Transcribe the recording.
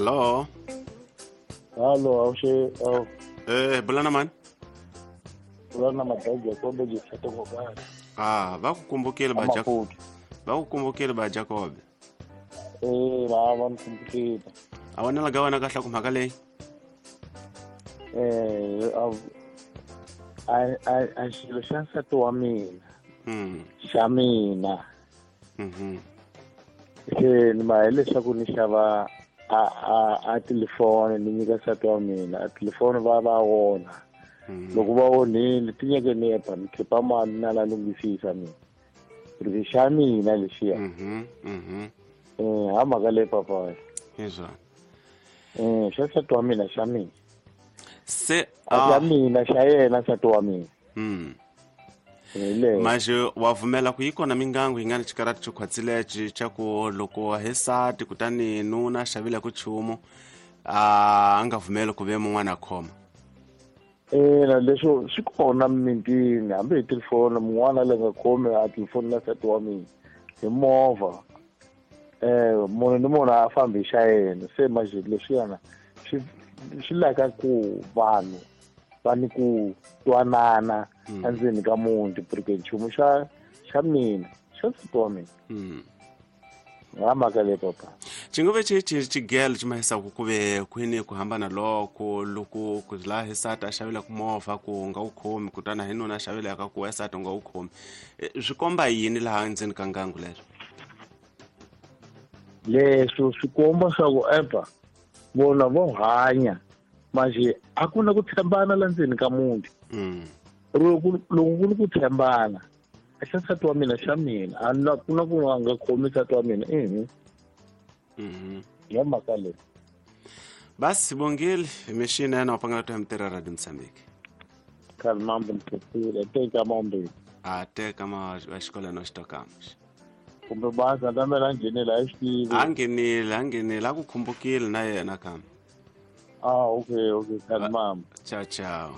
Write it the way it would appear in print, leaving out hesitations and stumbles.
Allo. Halo, awushe awu. Bulana mani? Bulana madaji Jacob jisate ngobani. Ah, va ku kumbukile ba Jacob. Va ku kumbukile ba Jacob. Va va nikumbukile. A wena la wena kahle ku mhaka leyi? A xilo xa nsati wa mina. Xa mina. Se ni ma hileswaku ni xava a telefoni ni nyika nsati wa mina. A telefoni va onha. Loko va onhile ti nyeke ni epa ni khipa mali na la lunghisisa mina. Ri xa mina lexiya. Ha mhaka leyi papa. Hi swona. Xa nsati wa mina xa mina. Se xa mina xa yena nsati wa mina. Manje wa vumela ku yi kona mingangu yi nga ni xikarati xo khwatsile xa ku loko hi sati kutani nuna xavile ku chumu a nga vumeli ku ve mun'wana a khoma. Ina leswo swi kona mimitini hambi hi telefoni mun'wana le nga khomi a telefoni na nsati wa mina hi movha. Munhu ni munhu a fambi xa yena se manje leswiyana swi laka ku vanhu va ni ku twanana endzeni ka muti porque nchumu xa mina xa nsati wa mina. Ha mhaka leyi papa. Xinguve xigelo xi mahisaku ku ve kwini ku hambana loko loko ku laha hi sati a xavelaka movha ku nga wu khomi kutani hi nuna a xavelaka ku esati u nga wu khomi. Swi komba yini laha ndzeni ka ngangu leswo? Leswo swi komba swa ku epa vona vo hanya manje a ku na ku tshembana la ndzeni ka muti. Loko ku ri ku tshembana xa nsati wa mina xa mina a na ku na ku nga khomi nsati wa mina. Ya mhaka leyi. Basi bongile mixini yena wa pangela to mitirho Radio Mozambique. Kalmambo nkhetsile teka mambe. A teka ma xikolo no xitokamos. Kumbe baza ndamela nghenela a xitivi. A nghenile a ku khumbukile na yena kambe. Ah, okay, kalmambo. Ciao ciao.